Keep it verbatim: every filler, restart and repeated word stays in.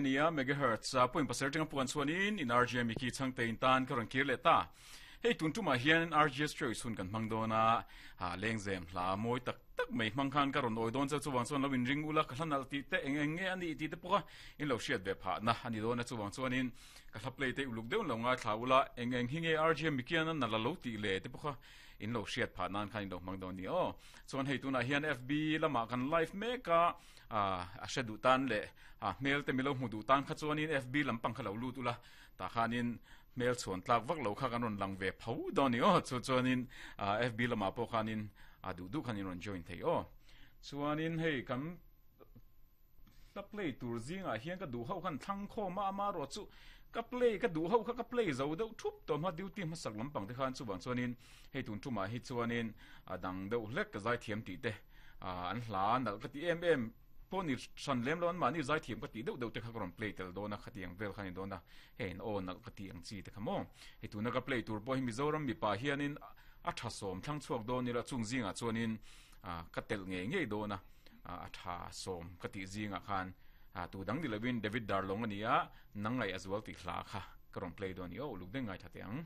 Nia megahertz point pasarih atanga puan chuanin in R J Mickey chhangte in tan ka rawn kir leh ta. Hei tun tumah hian R G S choice hun kan hmang dawn a, ha lengzem hla mawi tak tak mai hmang khan ka rawn awi dawn cheu chuvang chuan lo in ring ula ka hla nalh tih te eng eng nge a nih tih te pawh a in lo hriat ve phah na a ni dawn a chuvang chuanin ka hla play te uluk deuh in lo ngaithla ula eng eng hi nge R G Mickey an a nalh a lo tih le te pawh kha in lo hriat phah nan khan in lo hmang dawn ni aw. Chuan hei tunah hian F B lamah kan live mek a, a hre duh tan leh a hmel te milo hmu duh tan kha chuanin F B lampang kha lo lut ula tah khanin hmel chhuan tlak vak lo kha kan rawn lang ve pho dawn ni aw. Chu chuanin F B lamah pawh khanin a duh duh khan in rawn join thei aw. Chuanin hei kan hla play tur zingah hian ka duh ho khan thlang khawm a ama erawh chu ka play ka duh ho kha ka play zo deuh thup tawh hma duty hmasak lampang te khan chuvang chuanin hei tun tumah hi chuanin a dang deuh hlek ka zaithiam tih te an hla nalh ka ti em em pawh ni hran lem lo an mahni zaithiam ka tih deuh deuh te kha ka rawn play tel dawn a khatiang vel kha ni dawn a hei an aw nalh ka tih ang chi te kha maw hei tuna ka play tur pawh hi Mizoram mipa hianin a tha sawm thlang chhuak dawn ila chung zingah chuanin ka telh ngei ngei dawn a a tha sawm ka tih zingah khan tu dang ni lovin David Darlong a ni a nang ngaih a zual tih hla kha ka rawn play dawn ni aw uluk deuh ngai tha teh ang.